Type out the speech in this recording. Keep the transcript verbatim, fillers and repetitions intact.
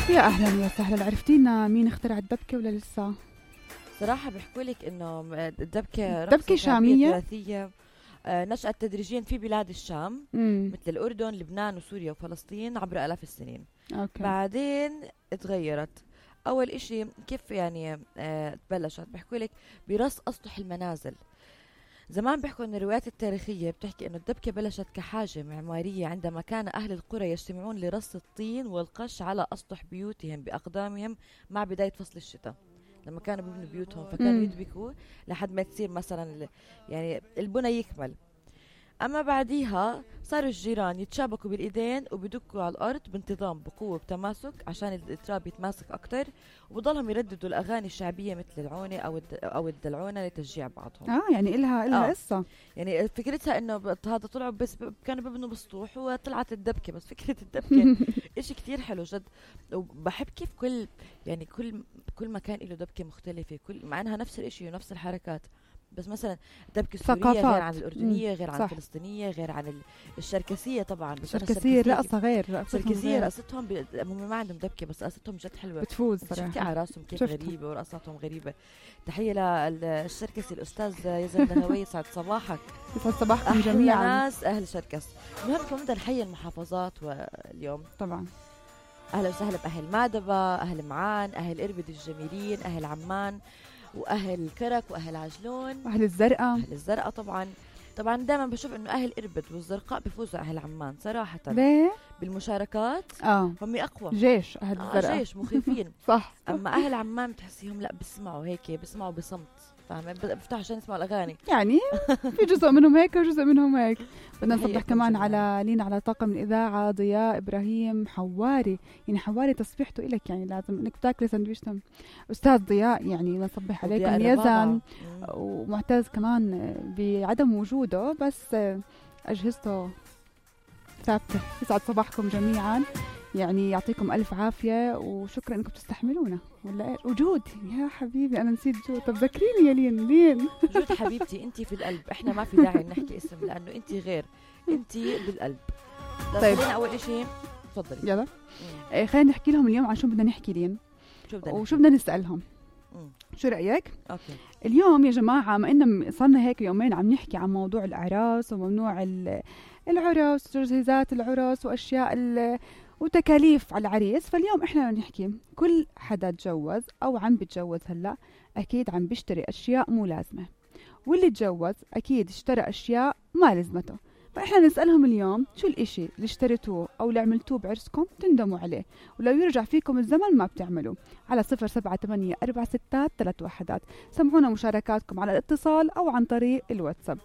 يا أهلا وسهلا. عرفتينا مين اخترع الدبكة ولا لسه؟ صراحة بيحكوا لك إنه الدبكة دبكة شامية تراثية آه نشأت تدريجيا في بلاد الشام مم. مثل الأردن لبنان وسوريا وفلسطين عبر آلاف السنين. أوكي. بعدين تغيرت. أول إشي كيف يعني آه تبلشت بيحكوا لك برص أسطح المنازل. زمان بيحكوا أن الروايات التاريخية بتحكي أنه الدبكة بلشت كحاجة معمارية عندما كان أهل القرى يجتمعون لرص الطين والقش على أسطح بيوتهم بأقدامهم مع بداية فصل الشتاء، لما كانوا بيبنوا بيوتهم فكانوا يدبكوا لحد ما تصير مثلا يعني البنى يكمل. أما بعديها صاروا الجيران يتشابكوا بالإيدين وبيدكوا على الأرض بانتظام بقوة بتماسك عشان التراب يتماسك أكتر، وبضلهم يرددوا الأغاني الشعبية مثل العونة أو أو الدلعونة لتشجيع بعضهم. آه يعني إلها إلها آه. قصة. يعني فكرتها إنه هذا طلعوا بس كانوا بيبنوا بسطوح وطلعت الدبكة، بس فكرة الدبكة إشي كتير حلو جد. وبحب كيف كل يعني كل كل مكان له دبكة مختلفة، كل مع إنها نفس الإشي ونفس الحركات، بس مثلا الدبكة السورية غير عن الأردنية، غير عن الفلسطينية، غير عن الشركسية. طبعا الشركسية رقصة غير، الشركسية رقصتهم ب... هم ما عندهم دبكة بس رقصتهم جد حلوة بتفوز صراحة. شفتي على راسهم كيف غريبة ورقصاتهم غريبة. تحية للشركسي الأستاذ يزن النهوي، يسعد صباحك. يسعد صباحكم جميعا ناس أهل شركس. المهم كمان بدنا نحيي المحافظات واليوم طبعا. أهلا وسهلا بأهل مادبة، أهل معان، أهل إربد الجميلين، أهل عمان، واهل كرك واهل عجلون واهل الزرقاء. اهل الزرقاء طبعا. طبعا دائما بشوف انه اهل اربد والزرقاء بيفوزوا اهل عمان صراحه. ليه؟ بالمشاركات اه هم اقوى جيش اهل الزرقاء. آه جيش مخيفين. صح. اما اهل عمان بتحسيهم لا بيسمعوا هيك، بيسمعوا بصمت، فاهمه؟ بفتحوا عشان يسمعوا الاغاني. يعني في جزء منهم هيك وجزء منهم هيك. بدنا نصبح كمان على لينا على طاقم الاذاعه ضياء ابراهيم حواري. يعني حواري تصبيحته إلك، يعني لازم انك تاكلي سندويشتم استاذ ضياء. يعني نصبح عليكم يزن ومعتز كمان بعدم وجوده بس اجهزته ثابته. يسعد صباحكم جميعا، يعني يعطيكم ألف عافية وشكرا أنكم تستحملونا. ولا إيه؟ وجود يا حبيبي أنا نسيت جود. طب ذكريني يا لين. لين جود حبيبتي أنت في القلب، إحنا ما في داعي نحكي اسم لأنه أنت غير، أنت بالقلب. طيب أول إشي تفضلي. يلا إيه خلينا نحكي لهم اليوم عن شو بدنا نحكي لين شو بدنا وشو بدنا نسألهم. مم. شو رأيك؟ أوكي. اليوم يا جماعة ما إننا صرنا هيك يومين عم نحكي عن موضوع الأعراس وممنوع العرس وتجهيزات العرس وأشياء وتكاليف على العريس. فاليوم إحنا نحكي كل حدا تجوز أو عم بتجوز هلأ أكيد عم بيشتري أشياء مو لازمة، واللي تجوز أكيد اشترى أشياء ما لازمته. فإحنا نسألهم اليوم شو الإشي اللي اشتريتوه أو اللي عملتوه بعرسكم تندموا عليه، ولو يرجع فيكم الزمن ما بتعملوا. على صفر سبعة ثمانية أربعة ستة ثلاث وحدات. سمعونا مشاركاتكم على الاتصال أو عن طريق الواتساب.